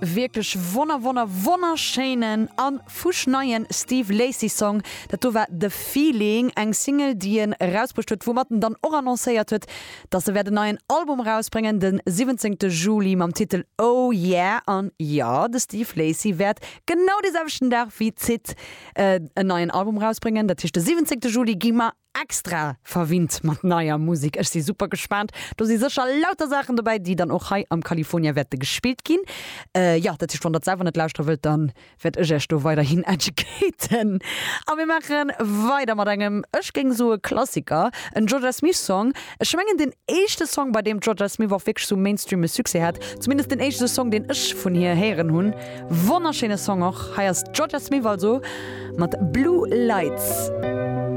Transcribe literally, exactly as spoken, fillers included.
Wierklech wonner wonner wonnerschéinen an fuschneien Steve Lacy Song. Dat do war The Feeling, eng Single déi en erausbruecht huet, woumat en dann och annoncéiert huet, dass e wäert en neien Album erausbréngen den siwwenzéngte Juli mam Titel Oh Yeah. An jo, de Steve Lacy wäert genau dee selwechten Dag wéi d'Syd en neien Album erausbréngen. Dat heescht de siwwenzéngte Juli gi mer extra verwinnt mat neier Musek. Ech si super gespaant. Do si sécher lauter Saachen dobäi, déi dann och hei am California wäerte gespillt ginn. Jo, dat heescht, wann der et selwer net lauschtere wëllt, dann wäert ech iech do weiderhin educaten. A mir maache weider mat engem, ech géing soe Klassiker, en Jorja Smith Song. Ech mengen den éischte Song, bei deem d'Jorja Smith och wierklech sou mainstreame Succès hat. Zumindest den éischte Song, deen ech vun hir héieren hunn. Wonnerschéine Song och. Hei ass d'Jorja Smith also mat Blue Lights.